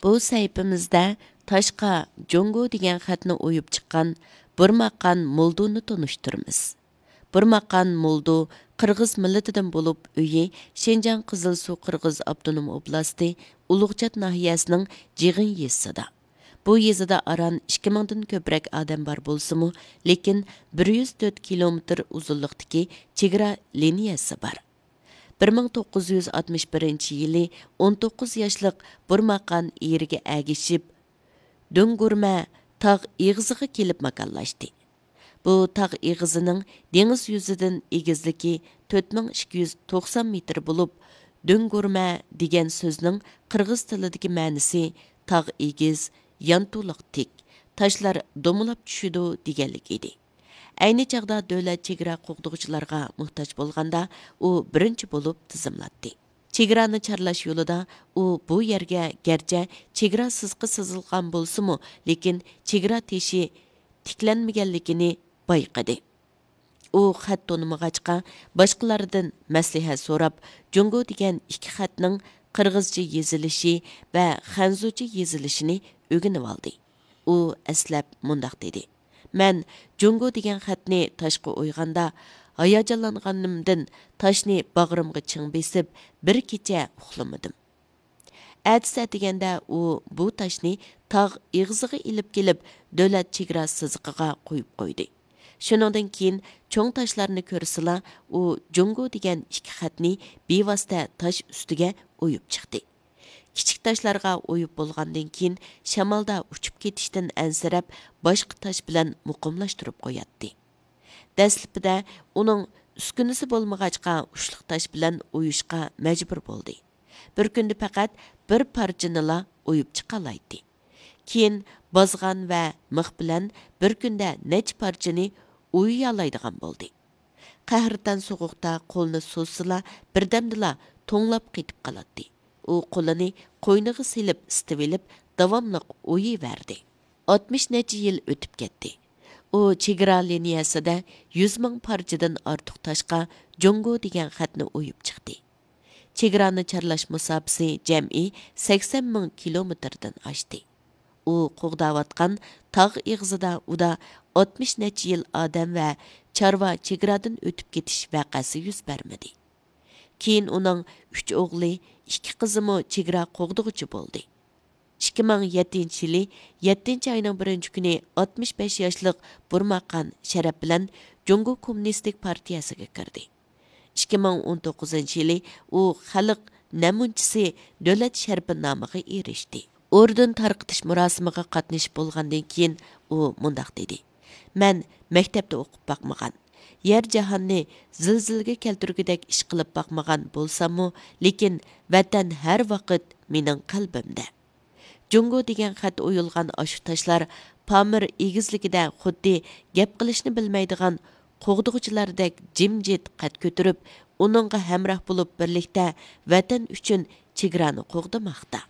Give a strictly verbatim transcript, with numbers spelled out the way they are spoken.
بۇ سەھىپىمىزدە تاشقا جۇڭگو دېگەن خەتنى ئويۇپ چىققان بۇرماقان مولدۇنى تونۇشتۇرىمىز. بۇرماقان مولدۇ قىرغىز مىللىتىدىن بولۇپ، ئۆيى شىنجاڭ قىزىلسۇ قىرغىز ئاپتونوم ئوبلاستى ئۇلۇغچات ناھىيەسىنىڭ جىغىن يېزىسىدا. بۇ يېزىدا ئاران ئىككى مىڭدىن كۆپرەك ئادەم بار بولسىمۇ، لېكىن بىر يۈز تۆت كىلومېتىر ئۇزۇنلۇقتىكى چېگرا لىنىيەسى بار. بىر مىڭ توققۇز يۈز ئاتمىش بىرىنچى يىلى ئون توققۇز ياشلىق بۇرماقان ئېرىگە ئەگىشىپ، دۆڭگۈرمە تاغ ئېغىزىغا كېلىپ ماكانلاشتى. بۇ تاغ ئېغىزىنىڭ دېڭىز يۈزىدىن ئېگىزلىكى تۆت مىڭ ئىككى يۈز توقسان مېتىر بولۇپ، دۆڭگۈرمە دېگەن سۆزنىڭ قىرغىز تىلىدىكى مەنىسى تاغ ئېگىز، يانتۇلۇق تىك، تاشلار دومىلاپ چۈشىدۇ دېگەنلىك ئىدى. ئەينى چاغدا دۆلەت چېگرا قوغدىغۇچىلارغا موھتاج بولغاندا، ئۇ بىرىنچى بولۇپ تىزىملاتتى. چېگرانى چارلاش يولىدا ئۇ بۇ يەرگە گەرچە چېگرا سىزىقى سىزىلغان بولسىمۇ، لېكىن چېگرا تېشى تىكلەنمىگەنلىكىنى بايقىدى. ئۇ خەت تونۇمىغاچقا، باشقىلاردىن مەسلىھەت سوراپ، جۇڭگو دېگەن ئىككى خەتنىڭ قىرغىزچە يېزىلىشى ۋە خەنزۇچە يېزىلىشىنى ئۆگىنىۋالدى. ئۇ ئەسلەپ مۇنداق دېدى: «مەن جۇڭگو دېگەن خەتنى تاشقا ئويغاندا، ھاياجانلانغىنىمدىن تاشنى باغرىمغا چىڭ بېسىپ، بىر كېچە ئۇخلىمىدىم.» ئەتىسى ئەتىگەندە ئۇ بۇ تاشنى تاغ ئېغىزىغا ئېلىپ كېلىپ، دۆلەت چېگرا سىزىقىغا قويۇپ قويدى. شۇنىڭدىن كېيىن چوڭ تاشلارنى كۆرسىلا، ئۇ جۇڭگو دېگەن ئىككى خەتنى بىۋاسىتە تاش ئۈستىگە ئويۇپ چىقتى. كىچىك تاشلارغا ئويۇپ بولغاندىن كېيىن، شامالدا ئۇچۇپ كېتىشتىن ئەنسىرەپ، باشقا تاش بىلەن مۇقىملاشتۇرۇپ قوياتتى. دەسلىپىدە ئۇنىڭ ئۈسكۈنىسى بولمىغاچقا، ئۇچلۇق تاش بىلەن ئويۇشقا مەجبۇر بولدى. بىر كۈندە پەقەت بىر پارچىنىلا ئويۇپ چىقالايتتى. كېيىن بازغان ۋە مىخ بىلەن بىر كۈندە نەچچە پارچىنى ئويۇيالايدىغان بولدى. قەھرىتان سوغۇقتا قولىنى سوزسىلا، بىردەمدىلا توڭلاپ قېتىپ قالاتتى. ئۇ قولىنى قوينىغا سېلىپ ئىسىتىۋېلىپ، داۋاملىق ئويۇيۋەردى. ئاتمىش نەچچە يىل ئۆتۈپ كەتتى. ئۇ چېگرا لىنىيەسىدە يۈز مىڭ پارچىدىن ئارتۇق تاشقا جۇڭگو دېگەن خەتنى ئويۇپ چىقتى. چېگرانى چارلاش مۇساپىسى جەمئىي سەكسەن مىڭ كىلومېتىردىن ئاشتى. ئۇ قوغداۋاتقان تاغ ئېغىزىدا ئۇدا ئاتمىش نەچچە يىل ئادەم ۋە چارۋا چېگرادىن ئۆتۈپ كېتىش ۋەقەسى يۈز بەرمىدى. كېيىن ئۇنىڭ ئۈچ ئوغلى، ئىككى قىزىمۇ چېگرا قوغدىغۇچى بولدى. ئىككى مىڭ يەتتىنچى يىلى يەتتىنچى ئاينىڭ بىرىنچى كۈنى ئاتمىش بەش ياشلىق بۇرماقان شەرەپ بىلەن جۇڭگو كوممۇنىستىك پارتىيەسىگە كىردى. ئىككى مىڭ ئون توققۇزىنچى يىلى ئۇ خەلق نەمۇنىچىسى دۆلەت شەرىپى نامىغا ئېرىشتى. ئوردېن تارقىتىش مۇراسىمىغا قاتنىشىپ بولغاندىن كېيىن، ئۇ مۇنداق دېدى: «مەن مەكتەپتە ئوقۇپ باقمىغان، يەر جاھاننى زىلزىلىگە كەلتۈرگۈدەك ئىش قىلىپ باقمىغان بولساممۇ، لېكىن ۋەتەن ھەر ۋاقىت مېنىڭ قەلبىمدە.» جۇڭگو دېگەن خەت ئويۇلغان ئاشۇ تاشلار پامىر ئېگىزلىكىدە خۇددى گەپ قىلىشنى بىلمەيدىغان قوغدىغۇچىلاردەك جىمجىت قەد كۆتۈرۈپ، ئۇنىڭغا ھەمراھ بولۇپ بىرلىكتە ۋەتەن ئۈچۈن چېگرانى قوغدىماقتا.